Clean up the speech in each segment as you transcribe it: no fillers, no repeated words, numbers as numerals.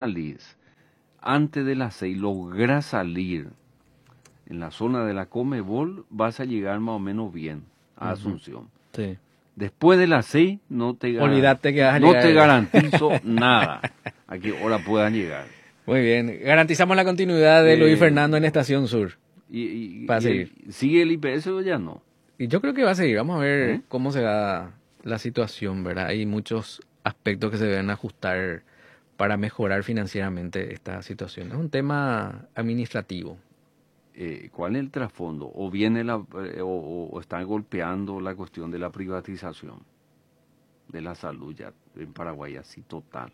Salís antes de las 6, lográs salir en la zona de la Comebol, vas a llegar más o menos bien a Asunción. Sí. Después de las 6 no te, Olvídate que vas a no llegar. te garantizo nada a qué hora puedan llegar. Muy bien. Garantizamos la continuidad de Luis Fernando en Estación Sur. Y, Va a seguir. ¿Sigue el IPS o ya no? Y yo creo que va a seguir. Vamos a ver cómo se da la situación, ¿verdad? Hay muchos aspectos que se deben ajustar para mejorar financieramente esta situación. Es un tema administrativo. ¿Cuál es el trasfondo? ¿O viene la, o están golpeando la cuestión de la privatización de la salud ya en Paraguay, así total?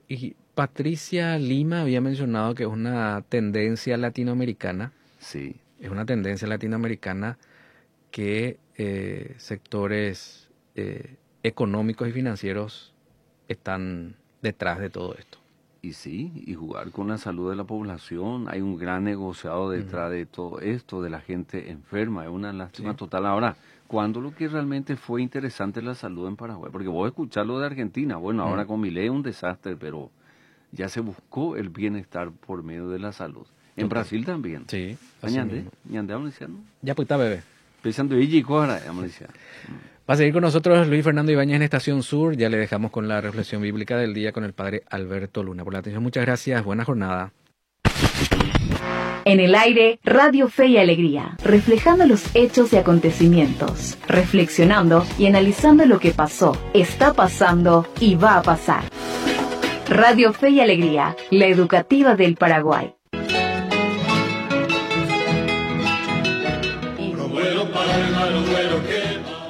Y Patricia Lima había mencionado que es una tendencia latinoamericana. Sí. Es una tendencia latinoamericana que sectores económicos y financieros están detrás de todo esto. Y sí, y jugar con la salud de la población. Hay un gran negociado detrás de todo esto, de la gente enferma. Es una lástima total. Ahora, ¿cuándo lo que realmente fue interesante la salud en Paraguay? Porque vos escuchás lo de Argentina. Bueno, ahora con Milei es un desastre, pero ya se buscó el bienestar por medio de la salud. En Brasil también. Sí, así Ñande, mismo. ñande, vamos diciendo. Ya pues está, bebé. Pensando, y chico, ahora, vamos diciendo. Va a seguir con nosotros Luis Fernando Ibáñez en Estación Sur. Ya le dejamos con la reflexión bíblica del día con el padre Alberto Luna. Por la atención, muchas gracias. Buena jornada. En el aire, Radio Fe y Alegría, reflejando los hechos y acontecimientos, reflexionando y analizando lo que pasó, está pasando y va a pasar. Radio Fe y Alegría, la educativa del Paraguay.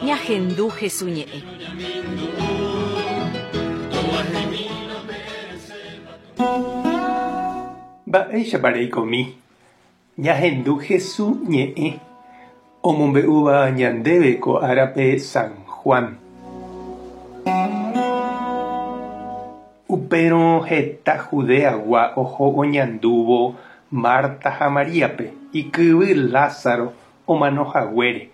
Ñahendu Jesús ñe'ẽ. Mba'éichapa reikomi. Ñahendu Jesús ñe'ẽ. Omombe'úva ñandéve ko árape San Juan. Upérõ heta Judeagua oho oñandúvo Marta ha Maríape ikyvy Lázaro omanohaguére.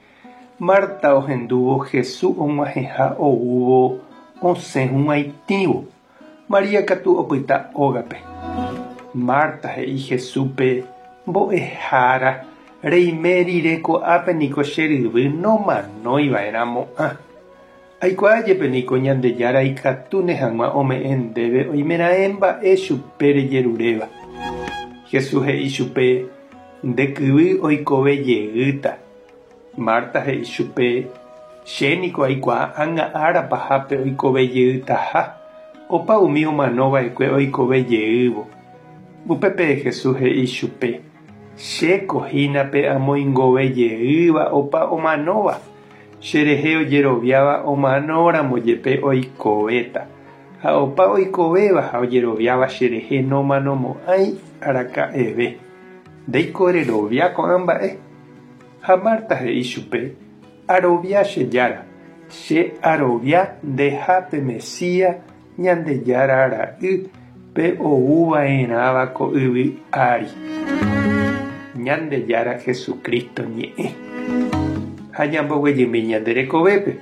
Marta ohendúvo Jesús og̃uahẽha oúvo osẽ hug̃uaitĩvo. María katu opyta ógape. Marta he'i Jesúspe mbo'ehára reime rire ko'ápe niko che ryvy nomanoiva'erãmo'ã. Aikuaa jepe niko Ñandejára ikatúne hag̃ua ome'ẽ ndéve oimeraẽ mba'e chupe rejeruréva. Jesús he'i chupe nde kyvy oikove jeýta. Marta he'i chupe che niko aikuaa ág̃a ára pahápe oikove jeýtaha opa umi omanova'ekue oikove jeývo. Upépe Jesús he'i chupe chéko hína pe amoingove jeýva opa omanóva. Cherehe ojeroviáva omanóramo jepe oikovéta. Ha opa oikovéva ha ojeroviáva cherehe nomanomo'ãi araka'eve. Ndéiko rerovia ko'ã mba'e. Ha Marta he'i chupe arovia che Jára, che arovia ndeha pe Mesías Ñandejára ra'y pe ouva'erãva ko yvy ári. Ñandejára Jesucristo ñe'ẽ. Ha ñamboguejymi ñande rekovépe.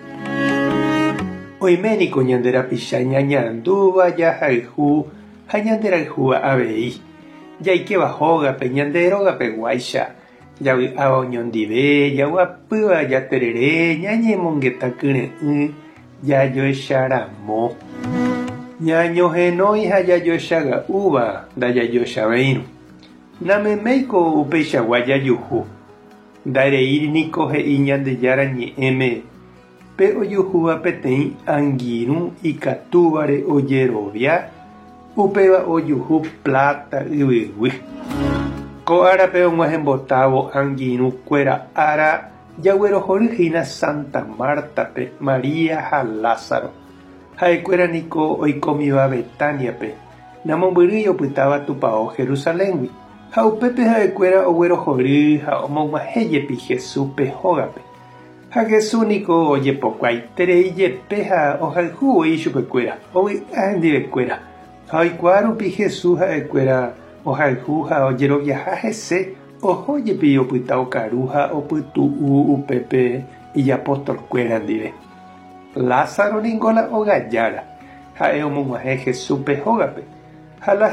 Oime niko ñande rapicha ñañandúva jahayhu ha ñanderayhúva avei. Jaikéva hógape ñande rógape guáicha. Javy'áva oñondive, jaguapýva jaterere, ñañemongeta kyre'ỹ, jajoecharamo. Ñañohenói ha jajoechaga'úva ndajajoechavéirõ. Nameméiko upeichagua jajuhu. Ndareíri niko he'i Ñandejára ñe'ẽme pe ojuhúva peteĩ angirũ ikatúvare ojerovia, upéva ojuhu plata yvyguy. Ko árape og̃uahẽmbotávo angirũkuéra ára jaguerohoryhína Santa Martape, María ha Lázaro. Ha'ekuéra niko oikómiva Betaniape, namombyrýi opytáva tupão Jerusaléngui. Ha upépe ha'ekuéra oguerohory ha omog̃uahẽjepi Jesúspe hógape. Ha Jesús niko ojepokuaaiterei jepe ha ohayhúvoi ichupekuéra, ovy'a hendivekuéra. Ha oikuaa rupi Jesús ha'ekuéra ohayhu ha ojeroviaha hese oho jepi opyta okaru ha opytu'u upépe ijapostolkuéra ndive. Lázaro niko la ogajára. Ha'e omog̃uahẽ Jesúspe hógape. Ha la.